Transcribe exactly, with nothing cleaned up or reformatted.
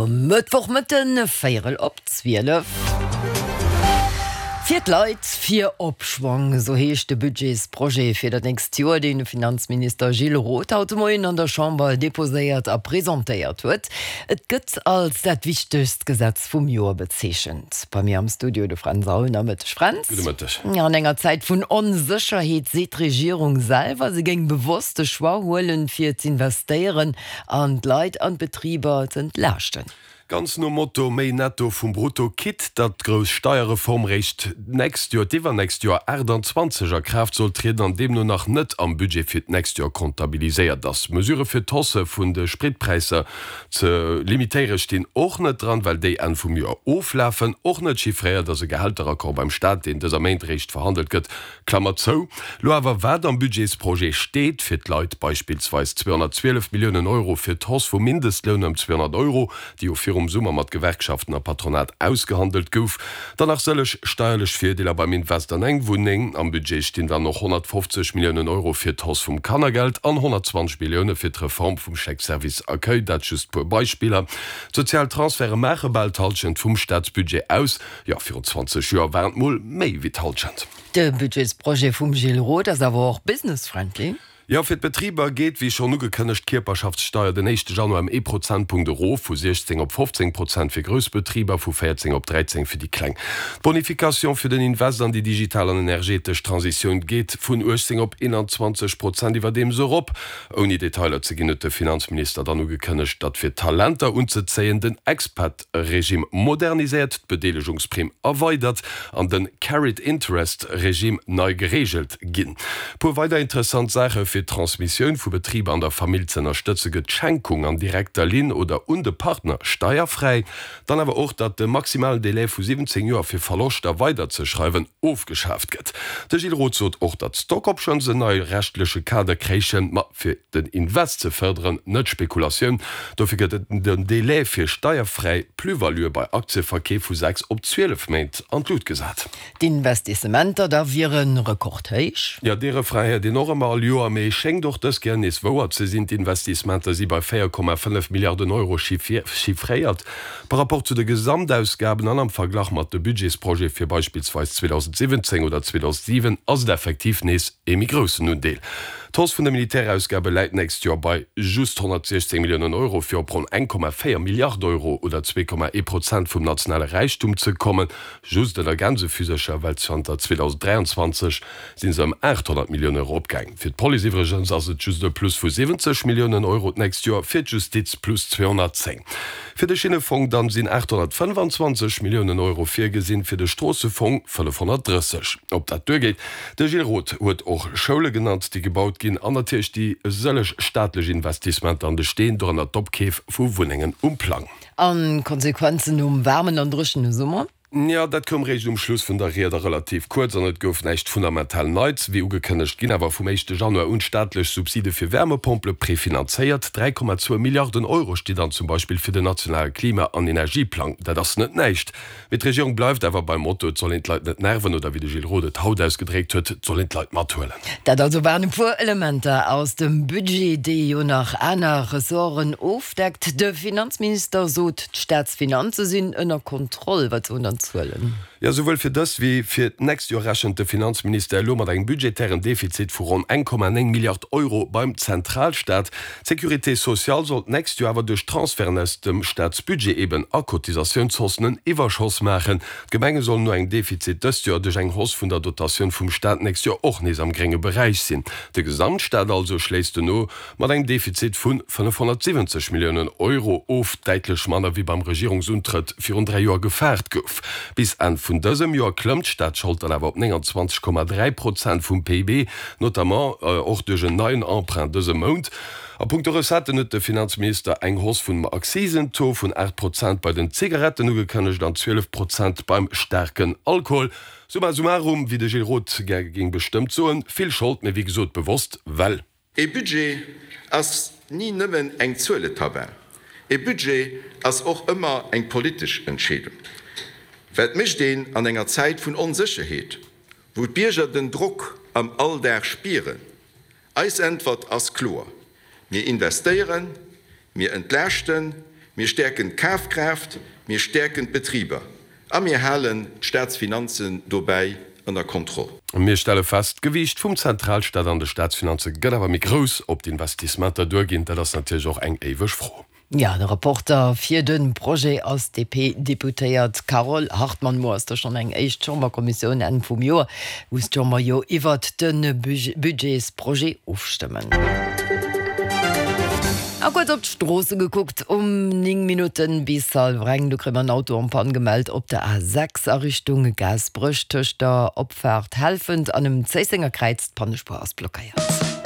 Mëttwochmëtten, véierel op zwielef. Fir d'Leit, fir Opschwong, esou heescht de Budgetsprojet fir dat nächst Joer, deen de Finanzminister Gilles Roth haut de Moien an der Chamber deposéiert a presentéiert huet. Et gëtt als dat wichtegst Gesetz vum Joer bezeechent. Bei mir am Studio de Fränz Aulner. Mëtteg, Fränz. Gudde Mëtteg. An enger Zäit vun Onsécherheet seet d'Regierung selwer, se géing bewosst de Choix huelen, fir z'investéieren an d'Leit an d'Betriber z'entlaaschten. Ganz nom Motto méi Netto vum Brutto, quitte datt d'grouss Steierreform réischt d'nächst Joer, d'iwwernächst Joer achttanzwanzeg a Kraaft soll trieden an deemno nach net am Budget fir d'nächst Joer comptabiliséiert ass. Mesurë fir d'Hausse vun de Spritpräisser ze limitéiere stinn och net dran, well déi Enn vum Joer oflafen. Och net chiffréiert ass e Gehälteraccord beim Staat, deen dëser Méint réischt verhandelt gëtt. Klammer zou. Lo awer wat am Budgetsprojet steet fir d'Leit, beispillsweis zweehonnertzwielef Milliounen Euro fir d'Hausse vum Mindestloun ëm zweehonnert Euro, déi jo virum Summer mat Gewerkschaften a Patronat ausgehandelt gouf, dann nach sëlleg steierlech Virdeeler beim Invest an eng Wunneng. Am Budget stinn dann och honnertfofzeg Milliounen Euro fir d'Hausse vum Kannergeld an honnertzwanzeg Millioune fir d'Reform vum Chèque service accueil, dat just puer Beispiller. D'sozial Transferte maache bal d'Hallschent vum Staatsbudget aus. Jo, virun zwanzeg Joer waren et mol méi wéi d'Hallschent. De Budgetsprojet vum Gilles Roth ass awer och business-friendly. Jo, fir d'Betriber geet, wéi schonn ugekënnegt, d'Kierperschaftssteier den éischte Januar ëm ee Prozentpunkt erof, vu siechzéng op fofzéng Prozent fir grouss Betriber, vu véierzéng op dräizéng fir déi kleng. D'Bonification fir den Invest an déi digital an energetesch Transitioun geet vun uechtzéng op eenanzwanzeg Prozent iwwerdeems erop. Ouni Detailer ze ginn, huet de Finanzminister dann ugekënnegt, datt fir Talenter unzezéien den Expat-Regime moderniséiert, d'Bedeelegungsprimm erweidert an de Carried Interest Regime nei gereegelt ginn. Puer weider interessant Saache, Fir d'Transmissioun vu Betriber an der Famill z'ënnerstëtze gëtt d'Schenkung an direkter Linn oder un de Partner steierfräi. Dann awer och, datt de maximalen Delai vu siwwenzéng Joer fir Verloschter weiderzeschreiwen ofgeschaaft gëtt. De Gilles Roth sot och, datt d'Stock Options en neie rechtleche Kader kréichen, ma fir den Invest ze fërderen, net d'Spekulatioun. Dofir gëtt den Delai fir steierfräi Plus-valuë bei Aktieverkeef vu sechs op zwielef Méint an d'Lut gesat. D'Investissementer da wiere rekordhéich. Jo, dee Refrain héiert een och ëmmer all Joer, mee schéngt och dës Kéier nees wouer ze sinn. D'Investissementer si bei véier Komma fënnef Milliarden Euro chiffréiert. Par rapport zu de Gesamtausgaben an am Verglach mat de Budgetsprojete fir beispillsweis zweedausentsiwwenzéng oder zweedausentsiwen ass et effektiv nees ee méi groussen Undeel. D'Hausse vun de Militärausgabe läit d'nächst Joer bei just honnertsiechzéng Milliounen Euro, fir op ronn eng Komma véier Milliard Euro oder zwee Komma ee Prozent vum nationale Räichtum ze kommen. Just ënner Gänsefüsercher, well zanter zweedausenddräianzwanzeg si se ëm aathonnert Millioune eropgaang. Fir d'Police iwwregens ass et just e Plus vu siwwenzeg Milliounen Euro d'nächst Joer, fir d'Justiz plus zweehonnertzéng. Fir de Schinnefong dann sinn aathonnertfënnefanzwanzeg Milliounen Euro virgesinn, fir de Stroossefong fënnefhonnertdrësseg. Ob dat duergeet? De Gilles Roth huet och Schoule genannt, déi gebaut ginn, an natierlech déi sëlleg staatlech Investissementer an de Steen, dorënner d'Opkeef vu Wunnengen um Plang. A Konsequenzen nom waarmen an dréchene Summer? Jo, dat koum réischt um Schluss vun der Ried a relativ kuerz an et gouf näischt fundamental Neits. Wéi ugekënnegt ginn awer vum éischte Januar un staatlech Subside fir Wärmepompele prefinanzéiert. dräi Komma zwou Milliarden Euro sti dann zum Beispill fir den nationale Klima an Energieplang. Dat ass net näischt. Mee d'Regierung bleift awer beim Motto, et soll een d'Leit net nerven oder wéi de Gilles Roth et haut ausgedréckt huet, et soll een d'Leit mathuelen. Dat also waren e puer Elementer aus dem Budget, dee jo nach aner Ressorten ofdeckt. De Finanzminister sot, d'Staatsfinanze sinn ënner Kontroll. Wat soen dann d'Zuelen? Jo, souwuel fir dëst wéi fir d'nächst Joer rechent de Finanzministère elo mat engem budgetären Defizit vu ronn eng Komma néng Milliard Euro beim Zentralstaat. D'Sécurité sociale soll d'nächst Joer awer duerch Transferten aus dem Staatsbudget eben a Cotisatiounshaussen en Iwwerschoss maachen. D'Gemenge sollen no engem Defizit dëst Joer duerch eng Hausse vun der Dotatioun vum Staat d'nächst Joer och nees am grénge Beräich sinn. De Gesamtstaat also schléisst dono mat engem Defizit vu fënnefhonnertsiwwenzeg Milliounen Euro of, däitlech manner wéi beim Regierungsuntrëtt virun dräi Joer gefaart gouf. Bis Enn vun dësem Joer klëmmt d'Staatsschold dann awer op nénganzwanzeg Komma dräi Prozent vum P I B, notamment och duerch en neien Emprunt dëse Mount. A punkto Recetten huet de Finanzminister eng Hausse vum Akzisentaux vun aacht Prozent bei den Zigaretten ugekënnegt an zwielef Prozent beim staarken Alkohol. Summa summarum, wéi de Gilles Roth gär géing bestëmmt soen, vill Schold, mee wéi gesot bewosst, well. E Budget ass ni nëmmen eng Zueletabell. E Budget ass och ëmmer eng politesch Entscheedung. Wat mécht een an enger Zäit vun Onsécherheet, wou d'Bierger den Drock am Alldag spieren? Eis Äntwert ass kloer, Mir investéieren, mir entlaaschten, Mir stäerken d'Kafkraaft, mir stäerken d'Betriber a mir halen d'Staatsfinanzen dobäi ënner Kontroll. Mir stelle fest, D'Gewiicht vum Zentralstaat an de Staatsfinanze gëtt awer méi grouss. Ob d'Investissementer duerginn, dat ass natierlech och eng éiweg Fro. Ja, de Rapporter fir de Projet ass d'DP-Deputéiert Carole Hartmann. Muer ass da schonn eng éischt Chamberkommissioun Enn vum Joer, muss d'Chamber jo iwwert de Budgetsprojet ofstëmmen. A kuerz op d'Stroosse gekuckt, Um néng Minutten bis hallwer eng, do kréie mer en Auto en panne gemellt op der A sechs a Richtung Gaasperech tëscht der Opfaart Helfent an dem Zéissenger Kräiz. D'Pannespuer ass blockéiert.